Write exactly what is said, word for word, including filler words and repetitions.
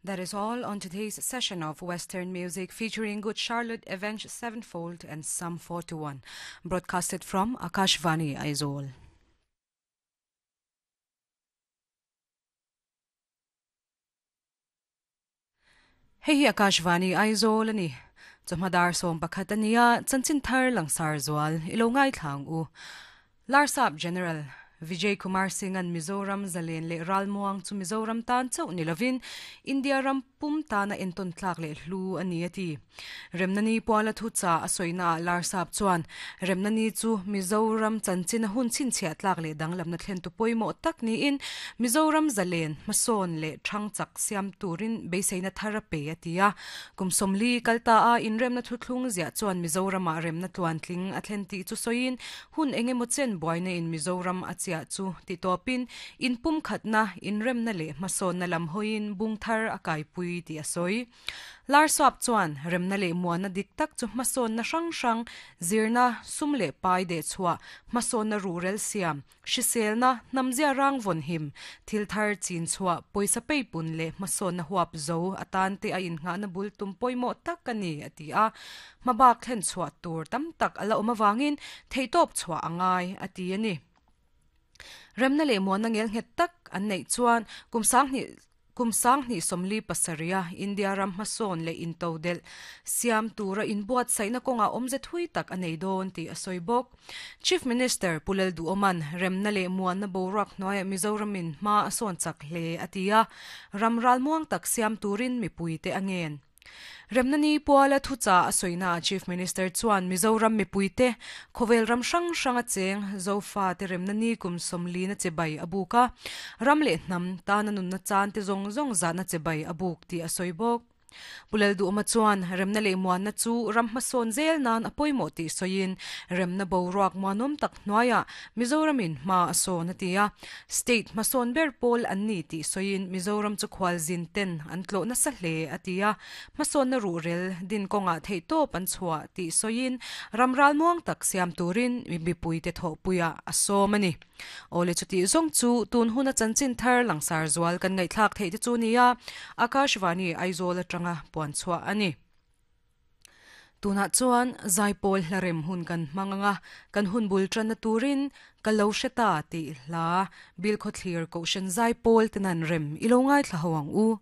That is all on today's session of Western Music featuring Good Charlotte, Avenged Sevenfold and Sum forty-one, broadcasted from Akashvani Aizawl. Hei hi Akashvani Aizawl ani. Chawhmadar sawm pakhat ania chanchin thar langsar zual ilo ngai thlang u. Larsap General Vijay Kumar Singh an Mizoram Zalen le Ralmuang chu Mizoram tan chau nilovin India ram pum tana enton tlak le hlu ani ati. Remnani puala thu cha asoina Larsap chuan Remnani chu Mizoram chanchin hun chin chhia tlak le danglam na thlen tu poimo tak ni in Mizoram Zalen mason le thangchak siam turin beiseina thara pe atia. Kumsomli kalta a in remna thu thlung zia chuan Mizoram a remna tluan tling a thlen ti chu soin hun engemaw chen buaina in Mizoram a chia chu ti topin in pum khatna in remna le mason na lam hoin bungthar akai pui ti asoi. Larsap chuan remna le muana dik tak chu mason na hrang hrang zirna sumle pai de chua mason na rural siam hriselna namzia rang von him thil thar chin chua poisa pei pun le mason na huap zo atan te a in nga na bul tum poimo tak ani ati a mabak thlen chua tur tam tak ala awm awangin theitop chua angai ati ani. Remna le muana ngel nget tak an nei chuan kumsang ni kumsang ni somli pasaria India ram mason le intodel siam tura inbuat saina konga omze thui tak anei don ti asoi bok. Chief Minister Pulel Du Oman remna le muana borak noya Mizoramin ma ason chak hle atia ramral muang tak siam turin mipuite angen. Remnani puala thucha asoina Chief Minister chuan Mizoram mipuite khovel ram hrang hrang a cheng zofa te remnani kum somli na chebai abuka ramle hnam ta na nun na chan te zong zong za na chebai abuk ti asoi bok. Pulel du ma chuan remna le muan na chu ram hmasawn zel nan apoimo ti soin remna boruak muanom tak hnuaia Mizoramin hma a sawn atia state hmasawn ber pawl an ni ti soin Mizoram chu khwal zin ten an tlo na sa hle atia hmasawn na rurel din konga thei tawp an chhuah ti soin ramral muang tak siam turin mipui te tho puia a sawm ani. Ole chuti zong chu tun huna chanchin thar langsar zual kan ngai thlak thei te chu nia Akashvani Aizawl atanga puan chhuah ani. Tuna chuan Zaipol hlarem hun kan hmanganga kan hun bul tran na turin kalo hreta ti hla bil kho thlir ko shen Zaipol tenan rem ilo ngai thla hawang u.